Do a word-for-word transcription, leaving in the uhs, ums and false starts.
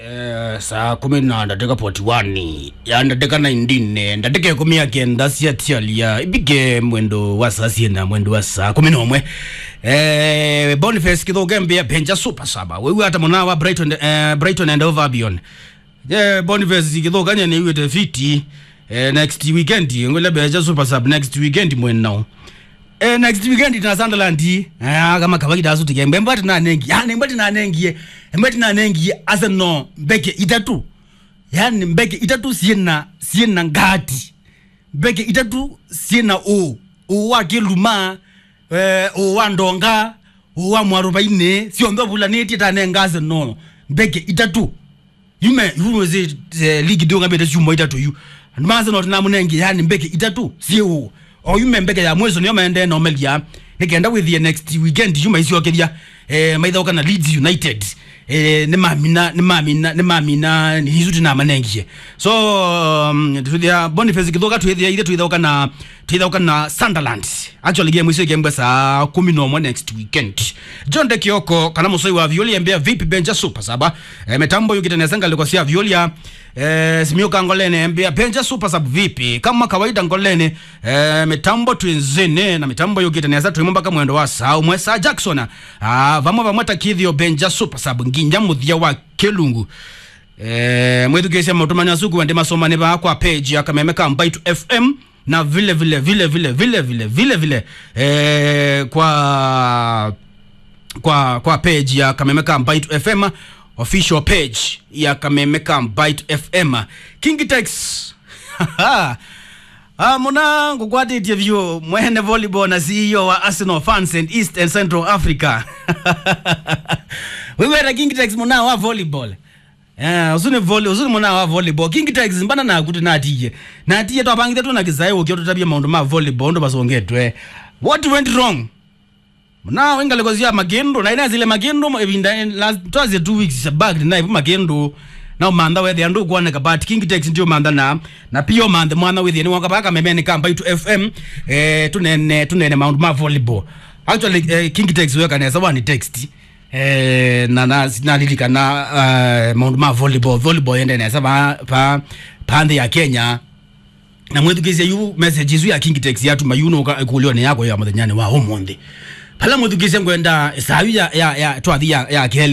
Eh, saa kumi na ndatĩka forty-one, ya ndatĩka nineteen, eh, ndatĩka ĩkũmi ya kenda sya tialia ivike mwendo wa saa syenda, mwendo wa saa kumi na ũmwe. Eh, Boniface Kĩthũka embĩa Benja Super Saba. Wĩw'a ata mũna wa Brighton, eh, Brighton and Hove Albion? Eh, Boniface Kĩthũka nye nĩw'ĩte fiti. Eh, next weekend ngwĩle Benja Super Sub next weekend mwenao. Eh, next weekend na Sunderland. Eh, kama kawaida asu tike. Mbemba tinanengie. Yani mbemba tinanengie. Mbemba tinanengie Arsenal mbeke itatu. Yani mbeke itatu siena, siena ngati. Mbeke itatu siena o. O wa Kiluma, eh, o wa Ndonga, o wa Mwarubaine, sionthe vulanĩtie tanenga Arsenal mbeke itatu. Yume, yume zi, eh, ligi ndio ngambete syuma itatu yu. Andũ ma Arsenal tinamũnengie, yani mbeke itatu, siũ. O yume mbeke ya mweso nĩyo maendee na ũmelia. Nĩkenda wĩthie next weekend yuma isyokethya, eh, maithaũka na Leeds United. Eh, nĩmamina, nĩmamina, nĩmamina, nĩ isu tinamanengie. So, um, twĩthĩa Boniface Kĩthũka twĩthĩa ithe twĩthaũka na, twĩthaũka na Sunderland. Actually, game icio ikembwa saa kumi na ũmwe next weekend. John de Kioko, kana Mũsoi wa Violi, embea vipi Benja Super Saba? Eh, mitambo yũkĩte nesa ngalĩko sya Violia. Eh, Simio Kangolene, embea Benja Super Sub vipi? Kama kawaida Ngolene, eh, mitambo twĩ nzĩnĩ, na mitambo yũkĩte nesa twĩmo mpaka mwendo wa saa ũmwe. Saa Jackson, ah, vamwe vamwe ta kĩthĩo Benja Super Sub, nginya mũthia wa kĩlungu. Eh, mwĩthukĩĩsya maũtũmani asu kuwa ndĩ masomani vaa kwa page ya Kameme ka Mbaitu F M. Na vile vile, vile vile, vile vile, vile vile, eh, kwa, kwa, kwa page ya Kameme ka Mbaitu F M, official page ya Kameme ka Mbaitu F M. King Tex. Ah, mũna ngũkwatĩtye vyũ, mwene volleyball na C E O wa Arsenal fans in East and Central Africa. Wĩweta King Tex mũna wa volleyball. Eh, ũsu nĩ volley-, ũsu nĩ mũna wa volleyball. King Tex, mbana naku tũnatiie. Natiie twavangĩte tũna kĩsaĩ ũkĩa tũtavye maũndũ ma volleyball, ũndũ vasongetwe. What went wrong? Mũna wĩ ngalĩko sya Makĩndũ, na inasile Makĩndũ, ĩvinda, eh, last, twasie two weeks back, na ivu Makĩndũ. Na ũmantha wethĩa ndũkwoneka, but King Tex ndio mantha na, na pia ũmanthe mwana wĩthĩe nĩwoka vaka memeni ka Mbaitu F M, eh, tũnene, tũnene maũndũ ma volleyball. Actually, eh, King Tex weka nesa wani text. Eh, na, na, nalilikana, eh, maũndũ ma volleyball. Volleyball yende nesa va, va, va nthĩ ya Kenya. Na mwĩthukĩĩsya yu message isu ya King Tex yatuma yu nũka ĩkũlĩonĩ yakwa ya mũthenyanĩ wa ũmũnthĩ. Pala mwĩthukĩĩsya ngwenda saa yu ya, ya, ya, twathi ya, ya kelĩ.